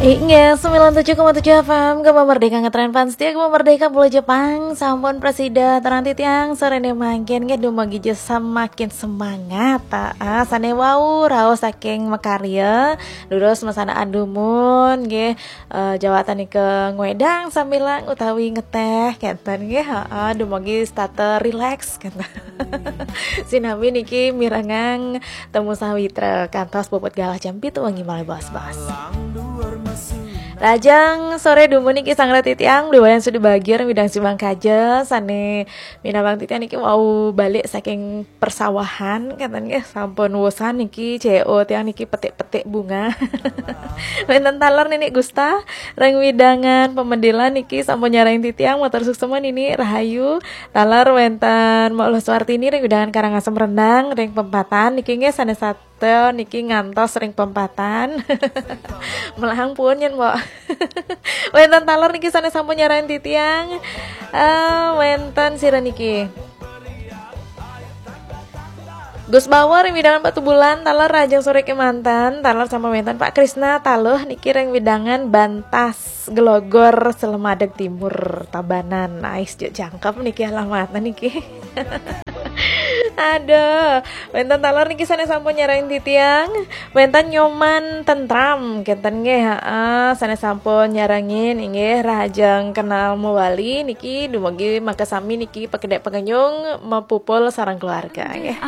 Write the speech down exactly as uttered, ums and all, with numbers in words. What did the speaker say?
Inggih, sembilan tujuh koma tujuh F M, Gema Merdeka ngetren fans setia Gema Merdeka Pulau Jepang. Sampun prasida terang titiang, sore ne mangkin nggih dumugi je semakin semangat. Ah, sane wau raos saking makarya, durus masanaan dumun nggih, eh, jawatan nika ngwedang sambilang utawi ngeteh kenten nggih. Heeh, dumugi setata relax kenten. Sinami niki mirengang Temu Sawitra kantos puput galah jam pitu wengi malih bos-bos. Lajeng sore dumun niki sang titiang, duwayan sudu bagia ring widang simbang kaja sane minabang titiang niki wau balik saking persawahan kenten nggih, sampun wusan niki C O tiang niki petik-petik bunga. Wenten taler Nini Gusta ring widangan Pemedilan niki sampun nyarengin titiang, matur suksma Nini, rahayu. Taler wenten Mbok Luh Suartini ring widangan Karangasem Rendang ring Pempatan niki nggih sane sat- Tel niki ngantos ring Pempatan. Melahang pun nyen, Mbok. Wenten taler niki sane sampun nyarengin titiang. Eh, wenten sira niki. Gus Bawor ring widangan Batubulan, taler rahajeng sore kemanten, taler sampun wenten Pak Krisna Taluh niki ring widangan Bantas Gelogor Selemadeg Timur Tabanan. Ais juk jangkep niki alamatnya niki. Aduh, wenten taler niki sane sampun nyarengin titiang. Wenten Nyoman Tentram kenten nggih, heeh, sane sampun nyarengin inggih, rahajeng kenal mewali niki, dumugi makasami niki pakedek pangenyung mapupul sareng keluarga nggih.